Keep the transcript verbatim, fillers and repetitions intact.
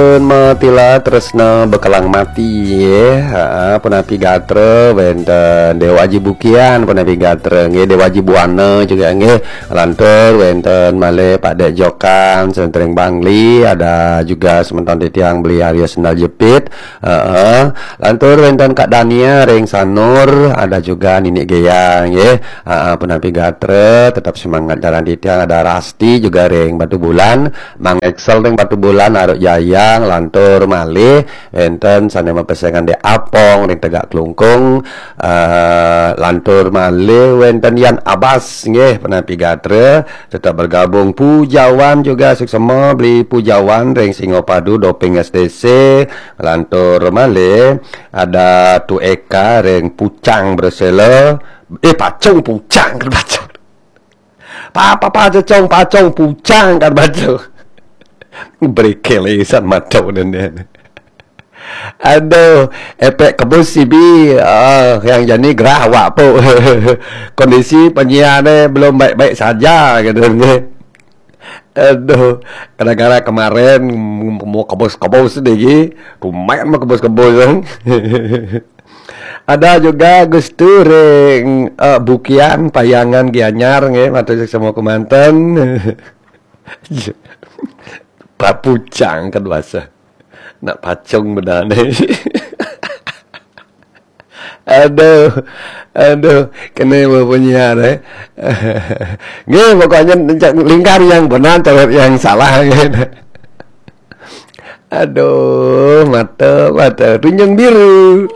Pun matila tresna bekelang mati, nggih. Ha, punapi gatra wenten Dewa Aji Bukian, punapi gatra, nggih, Dewa Aji Buana juga, nggih. Lantur wenten malih Pak Dek Jokan, Sentring Bangli, ada juga semeton titiang Beli Arya Sendal Jepit. Heeh. Lantur wenten Kak Dania ring Sanur, ada juga Nini Gea, nggih. Heeh, punapi gatra, tetap semangat jalan titiang, ada Rasti juga ring Batubulan, Mang Excel ring Batubulan, Aruk Jayang, lantur malih wenten sane mapesengan Dek Apong ring Tegak Klungkung, eh, lantur malih wenten Yan Abas, nggih, punapi gatra, tetap bergabung. Pujawan juga suksma, Beli Pujawan ring Singapadu, Doping S D C, lantur malih ada Tu Eka ring Pucang Bresela, eh, Pacung, Pucang, kan Pacung. Pa, pa, pa, cecong, pacong, pucang, kan baca. Brekel isan mato dan dia. Aduh, efek kebus C B, ah, yang jani gerah awak po. Kondisi penyiar ni belum baik-baik saja, kata dia. Aduh, gara-gara kemarin mau kebus-kebus lagi, rumah mau kebus-kebus. Ada juga Gustu ring, eh, Bukian, Payangan, Gianyar, nggih, matur suksma kemanten. Papucang kan bahasa. Nak pacung bedane. Aduh, aduh, kene penyiar, eh. Nggih, pokoknya lingkar yang benar, coret yang salah, gitu. Aduh, mata, mata, tunjung biru.